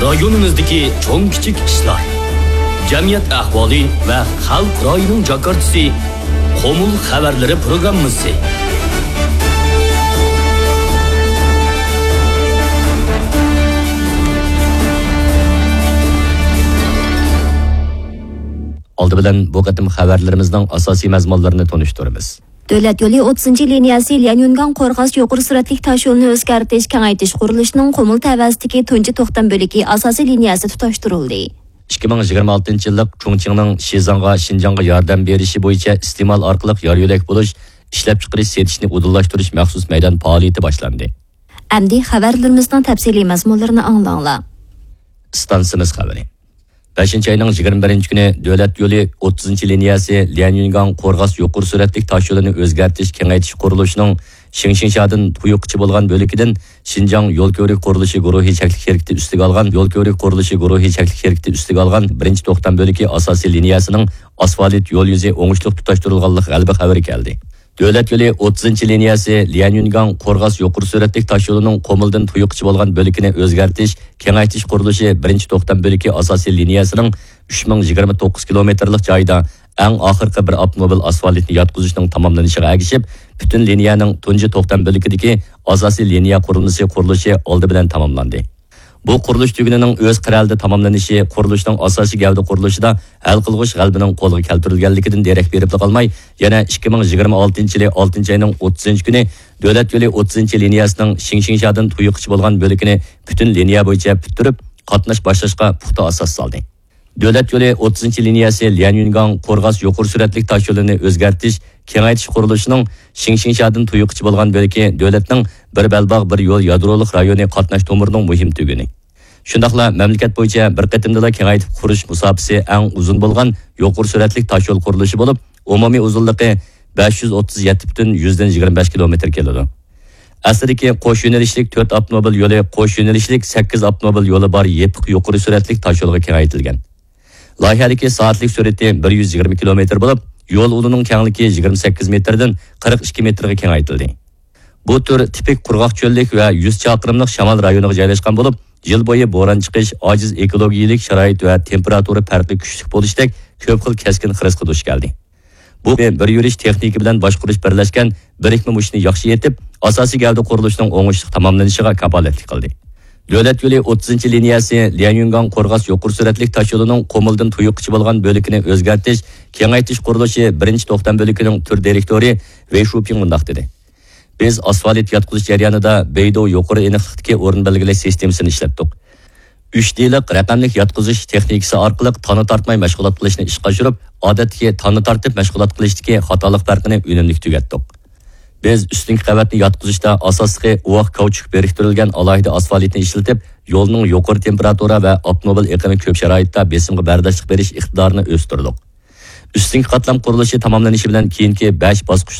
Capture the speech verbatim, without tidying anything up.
رايونىمىزدىكى چوڭ كىچىك ئىشلار، جەمئىيەت ئەھۋالى ۋە خەلق رايىنىڭ جاكارتىسى، قۇمۇل خەۋەرلىرى پروگراممىسى. ئالدى بىلەن بۇ قېتىم خەۋەرلىرىمىزنىڭ ئاساسىي مەزمۇنلىرىنى تونۇشتۇرىمىز. دۆلەت يولى ئوتتۇزىنچى لىنىيەسى ليەنيۈنگاڭ قورغاس يۇقىرى سۈرئەتلىك تاشيولىنى ئۆزگەرتىش، كېڭەيتىش قۇرۇلۇشىنىڭ قۇمۇل تەۋەسىدىكى تۇنجى توختام بۆلىكى ئاساسىي لىنىيەسى تۇتاشتۇرۇلدى. ئىككى مىڭ يىگىرمە ئالتىنچى يىللىق چۇڭچىڭنىڭ شىزاڭغا، شىنجاڭغا ياردەم بېرىشى بويىچە ئىستېمال ئارقىلىق يار يۆلەك بولۇش، ئىشلەپچىقىرىش، سېتىشنى ئۇدۇللاشتۇرۇش مەخسۇس مەيدان پائالىيىتى باشلاندى. ئەمدى خەۋەرلىرىمىزنىڭ تەپسىلىي مەزمۇنلىرىنى ئاڭلاڭلار. ئىستانسىمىز خەۋىرى. بەشىنچى ئاينىڭ يىگىرمە بىرىنچى كۈنى دۆلەت يولى ئوتتۇزىنچى لىنىيەسى ليەنيۈنگاڭ قورغاس يۇقىرى سۈرئەتلىك تاشيولىنى ئۆزگەرتىش، كېڭەيتىش قۇرۇلۇشىنىڭ شىڭشىڭشادىن تۇيۇققىچە بولغان بۆلىكىدىن شىنجاڭ يول كۆۋرۈك قۇرۇلۇشى گۇرۇھى چەكلىك شىركىتى ئۈستىگە ئالغان، يول كۆۋرۈك قۇرۇلۇشى گۇرۇھى چەكلىك شىركىتى ئۈستىگە ئالغان بىرىنچى توختام بۆلىكى ئاساسىي لىنىيەسىنىڭ ئاسفالت يول يۈزى ئوڭۇشلۇق تۇتاشتۇرۇلغانلىق غەلىبە خەۋىرى كەلدى. دۆلەت يولى ئوتتۇزىنچى لىنىيەسى ليەنيۈنگاڭ قورغاس يۇقىرى سۈرئەتلىك تاشيولىنىڭ قۇمۇلدىن تۇيۇققىچە بولغان بۆلىكىنى ئۆزگەرتىش، كېڭەيتىش قۇرۇلۇشى بىرىنچى توختام بۆلىكى ئاساسىي لىنىيەسىنىڭ ئۈچ مىڭ يىگىرمە توققۇز كىلومېتىرلىق جايىدا ئەڭ ئاخىرقى بىر ئاپتوموبىل ئاسفالتنى ياتقۇزۇشنىڭ تاماملىنىشىغا ئەگىشىپ، پۈتۈن لىنىيەنىڭ تۇنجى توختام بۆلىكىدىكى ئاساسىي لىنىيە قۇرۇلمىسى قۇرۇلۇشى ئالدى بىلەن تاماملاندى. بۇ قۇرۇلۇش تۈگۈنىنىڭ ئۆز قەرەلىدە تاماملىنىشى قۇرۇلۇشنىڭ ئاساسىي گەۋدە قۇرۇلۇشىدا ھەل قىلغۇچ غەلىبىنىڭ قولغا كەلتۈرۈلگەنلىكىدىن دېرەك بېرىپلا قالماي، يەنە ئىككى مىڭ يىگىرمە ئالتىنچى يىلى ئالتىنچى ئاينىڭ ئوتتۇزىنچى كۈنى دۆلەت يولى ئوتتۇزىنچى لىنىيەسىنىڭ شىڭشىڭشادىن تۇيۇققىچە بولغان بۆلىكىنى پۈتۈن لىنىيە بويىچە پۈتتۈرۈپ، قاتناش باشلاشقا پۇختا ئاساس سالدى. دۆلەت يولى ئوتتۇزىنچى لىنىيەسى ليەنيۈنگاڭ قورغاس يۇقىرى سۈرئەتلىك تاشيولىنى ئۆزگەرتىش، كېڭەيتىش قۇرۇلۇشىنىڭ شىڭشىڭشادىن تۇيۇققىچە بولغان بۆلىكى دۆلەتنىڭ بىر بەلباغ، بىر يول يادرولۇق رايونى قاتناش تومۇرىنىڭ مۇھىم تۈگۈنى. شۇنداقلا مەملىكەت بويىچە بىر قېتىمدىلا كېڭەيتىپ قۇرۇش مۇساپىسى ئەڭ ئۇزۇن بولغان يۇقىرى سۈرئەتلىك تاشيول قۇرۇلۇشى بولۇپ، ئومۇمىي ئۇزۇنلۇقى بەش يۈز ئوتتۇز يەتتە پۈتۈن يۈزدىن يىگىرمە بەش كىلومېتىر كېلىدۇ. ئەسلىدىكى قوش يۆنىلىشلىك تۆت ئاپتوموبىل يولى قوش يۆنىلىشلىك سەككىز ئاپتوموبىل يولى بار يېپىق يۇقىرى سۈرئەتلىك تاشيولغا كېڭەيتىلگەن. لايىھەدىكى سائەتلىك سۈرئىتى بىر يۈز يىگىرمە كىلومېتىر بولۇپ، يول ئۇلىنىڭ كەڭلىكى يىگىرمە سەككىز مېتىردىن قىرىق ئىككى مېتىرغا كېڭەيتىلدى. بۇ تۈر تىپىك قۇرغاق چۆللۈك ۋە يۈز چاقىرىملىق شامال رايونىغا جايلاشقان بولۇپ، يىل بويى بوران چىقىش، ئاجىز ئېكولوگىيەلىك شارائىت ۋە تېمپېراتۇرا پەرقى كۈچلۈك بولۇشتەك كۆپ خىل كەسكىن خىرىسقا دۇچ كەلدى. بۇ بىر يۈرۈش تېخنىكا بىلەن باشقۇرۇش بىرلەشكەن بىرىكمە مۇشتنى ياخشى يېتىپ، ئاساسىي گەۋدە قۇرۇلۇشىنىڭ ئوڭۇشلۇق تاماملىنىشىغا كاپالەتلىك قىلدى. دۆلەت يولى ئوتتۇزىنچى لىنىيەسى ليەنيۈنگاڭ قورغاس يۇقىرى سۈرئەتلىك تاشيولىنىڭ قۇمۇلدىن تۇيۇققىچە بولغان بۆلىكىنى ئۆزگەرتىش، كېڭەيتىش قۇرۇلۇشى بىرىنچى توختام بۆلىكىنىڭ تۈر دىرېكتورى ۋېي شۇپىڭ مۇنداق دېدى: بىز ئاسفالت ياتقۇزۇش جەريانىدا بېيدۇ يۇقىرى ئېنىقلىقتىكى ئورۇن بەلگىلەش سىستېمىسىنى ئىشلەتتۇق. ئۈچ دېلىق رەقەملىك ياتقۇزۇش تېخنىكىسى ئارقىلىق تانا تارتماي مەشغۇلات قىلىشنى ئىشقا ئاشۇرۇپ، ئادەتتىكى تانا تارتىپ مەشغۇلات قىلىشتىكى خاتالىق پەرقىنى ئۈنۈملۈك تۈگەتتۇق. بىز ئۈستۈنكى قەۋەتنى ياتقۇزۇشتا ئاساسلىقى ئۇۋاق كاۋچۇك بىرىكتۈرۈلگەن ئالاھىدە ئاسفالتنى ئىشلىتىپ، يولنىڭ يۇقىرى تېمپېراتۇرا ۋە ئاپتوموبىل ئېقىمى كۆپ شارائىتتا بېسىمغا بەرداشلىق بېرىش ئىقتىدارىنى ئۆستۈردۇق. ئۈستۈنكى قاتلام قۇرۇلۇشى تاماملىنىشى بىلەن كېيىنكى بەش باسقۇچ